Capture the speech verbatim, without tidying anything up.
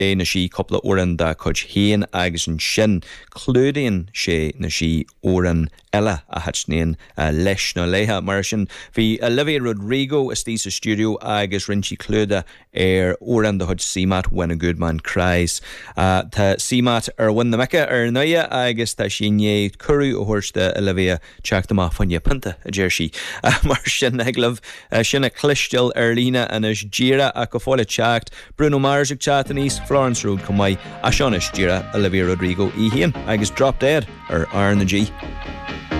é nó sí cúpla amhrán dá cuid féin agus ansin clúdaíonn sé nó sí amhrán eile a thaitníonn leis nó léi. Mar sin bhí Olivia Rodrigo istigh sa stiúideo agus rinne sí clúdach ar amhrán de chuid CMAT When a Good Man Cries. Uh, tá CMAT ar mhuin na muice ar ndóigh agus tá sí né cuireadh a thabhairt d'Olivia teacht amach fá choinne pionta a deir sí. Uh, mar sin ag libh uh, sin a chloisteáil ar líne anois díreach ach go fóill teacht Bruno Mars ag teacht aníos Florence Road chomh maith ach seo anois díreach Olivia Rodrigo í féin agus Drop Dead ar R na G.